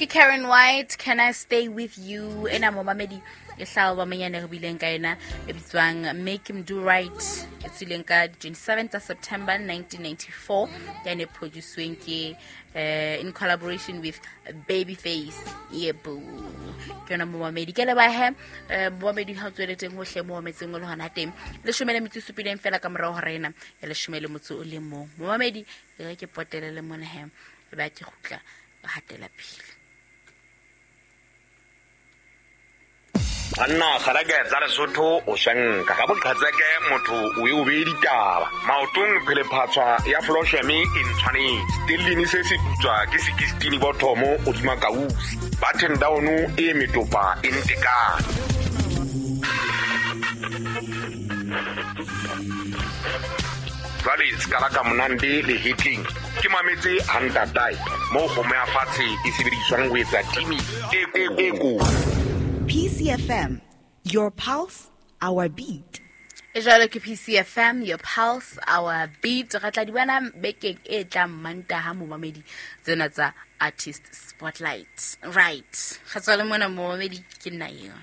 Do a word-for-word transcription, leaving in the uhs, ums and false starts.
Ke Karen White, Can I Stay With You? Ena momamedi e hlaha bamenyane re bileng ka ena e bitswang Make Him Do Right, e tswileng ka twenty-seven tsa September nineteen ninety-four, ya ne produce-weng ke eh, in collaboration with Babyface. Yebo, ke yona momamedi. Ke leboha he, eh, momamedi ha o tswele teng hohle mo mametseng o le hona teng. Leshome le metso e supileng fela ka morao hora ena ya leshome le motso o le mong. Momamedi, e re ke potele le mona he, e ba ke kgutla hatela pele. Banna kgareke tsa Lesotho o shanka ka boqhatseke motho o e o beye ditaba maotong phele phatshwa ya Flosheme e ntshwanetse stellini se se putswa ke sixteen bothomo hodima kausi button down e metopa e ntekane. Jwale ska la ka monande le hitling ke mametse hantatai mo kgomo ya fatshe e sebediswang ho etsa timi e e ko. P C F M, your pulse, our beat. E jwalo ke P C F M, your pulse, our beat. Re tla di bona bekeng e tlang Mantaha momamedi tsena tsa Artist Spotlight. Right. Re tswa le mona momamedi ke nna eo.